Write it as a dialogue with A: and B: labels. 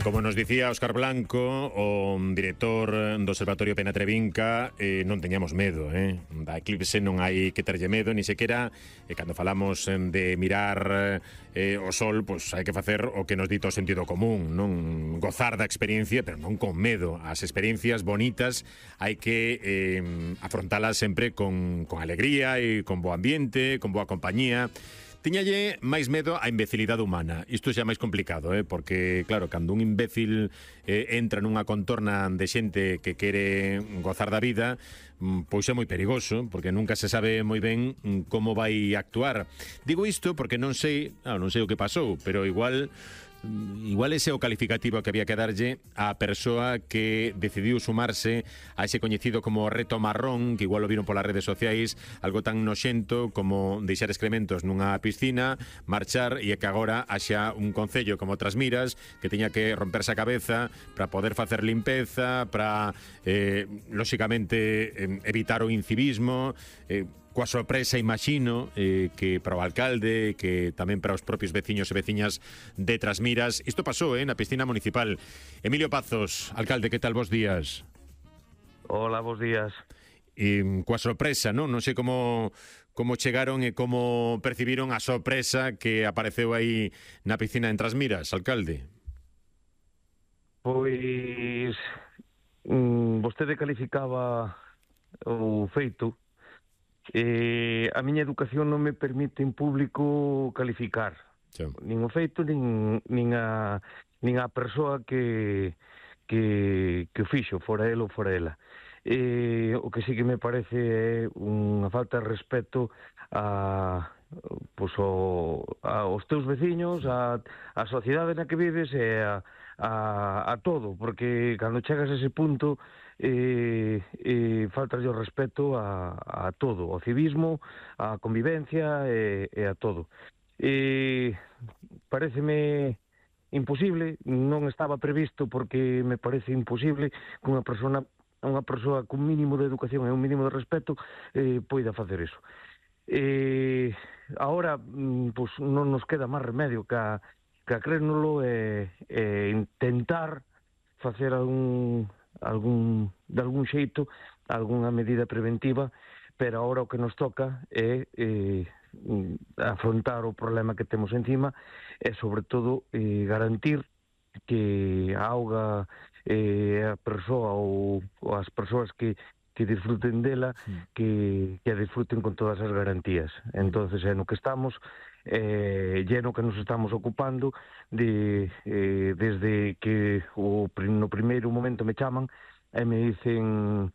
A: Como nos dicía Óscar Blanco, o director do Observatorio Penatrevinca, non teñamos medo, da eclipse non hai que terlle medo, ni sequera cando falamos de mirar o sol, pois hai que facer o que nos dito o sentido común, non gozar da experiencia, pero non con medo. As experiencias bonitas hai que afrontalas sempre con alegría e con bo ambiente, con boa compañía. Tiñalle máis medo á imbecilidade humana. Isto xa é máis complicado, porque, claro, cando un imbécil entra nunha contorna de xente que quere gozar da vida, pois é moi perigoso, porque nunca se sabe moi ben como vai actuar. Digo isto porque non sei o que pasou, pero igual ese é o calificativo que había que darlle á persoa que decidiu sumarse a ese coñecido como reto marrón, que igual o viron polas redes sociais, algo tan noxento como deixar excrementos nunha piscina, marchar, e que agora haxa un concello como Trasmiras que teña que romperse a cabeza para poder facer limpeza, para lóxicamente evitar o incivismo, coa sorpresa, imagino, que para o alcalde, que tamén para os propios veciños e veciñas de Trasmiras. Isto pasou, na piscina municipal. Emilio Pazos, alcalde, que tal, bos días?
B: Hola, bos días.
A: Coa sorpresa, non? Non sei como chegaron e como percibiron a sorpresa que apareceu aí na piscina en Trasmiras, alcalde.
B: Pois vostede calificaba o feito. A miña educación non me permite en público calificar nin o feito nin a persoa que o fixo, fora el ou fora ela. O que sí que me parece é unha falta de respeto aos teus veciños, a sociedade na que vives e a todo, porque cando chegas a ese punto falta o respeto a todo, ao civismo, a convivencia e a todo. Paréceme imposible, non estaba previsto porque me parece imposible que unha persoa cun mínimo de educación e un mínimo de respeto poida facer iso. Agora, pois non nos queda máis remedio que a creérnoslo e intentar facer de algún xeito algunha medida preventiva, pero agora o que nos toca é afrontar o problema que temos encima e, sobre todo, garantir que a auga a persoa ou as persoas que disfruten dela, que a disfruten con todas as garantías. Entonces, é no que estamos, lleno que nos estamos ocupando desde que no primeiro momento me chaman e me dicen